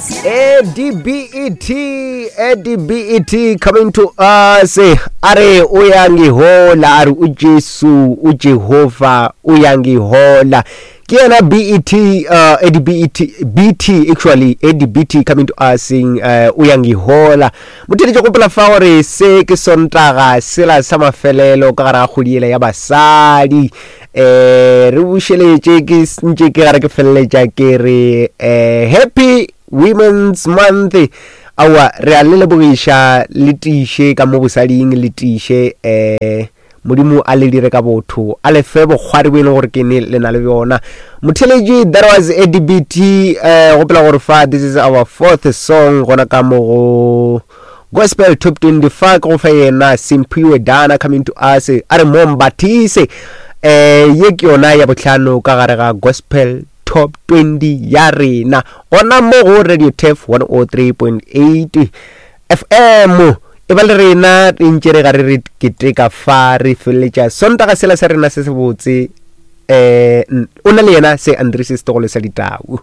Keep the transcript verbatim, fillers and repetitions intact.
A D B E T, A D B E T coming to us. A re uyangihola, a re uJesu, uJehova uyangihola. Ke yena B E T, uh, A D B E T, B T actually, A D B T coming to us saying uh, uyangihola. Motheletše, gopola fa gore se ke Sontaga sela sa mafelelo ka gare ga kgwedi ela ya basadi. eh re bušeletše ke ntše ke gare ke feleletša ke re eh happy Women's Month. Aowa, re a le lebogiša, le tiiše ka mo bosading, le tiiše. eh Modimo a le dire ka botho, a le fe bokgwari bo e leng gore ke ne le na le bjona. Motheletši, that was A D B T. eh gopola gore fa this is our fourth song gona ka mo go Gospel Top twenty. Fa ke go fa yena Simphiwe Dana coming to us, a re mombathise. eh ye ke yona ya bohlano ka gare ga Gospel Top twenty ya rena gona mo go Radio Turf one oh three point eight F M. E ba le rena re ntše re gare re keteka fa, re feleletša Sontaga sela sa rena se se botse. eh o na le yena se Andres Setogolo sa Ditau.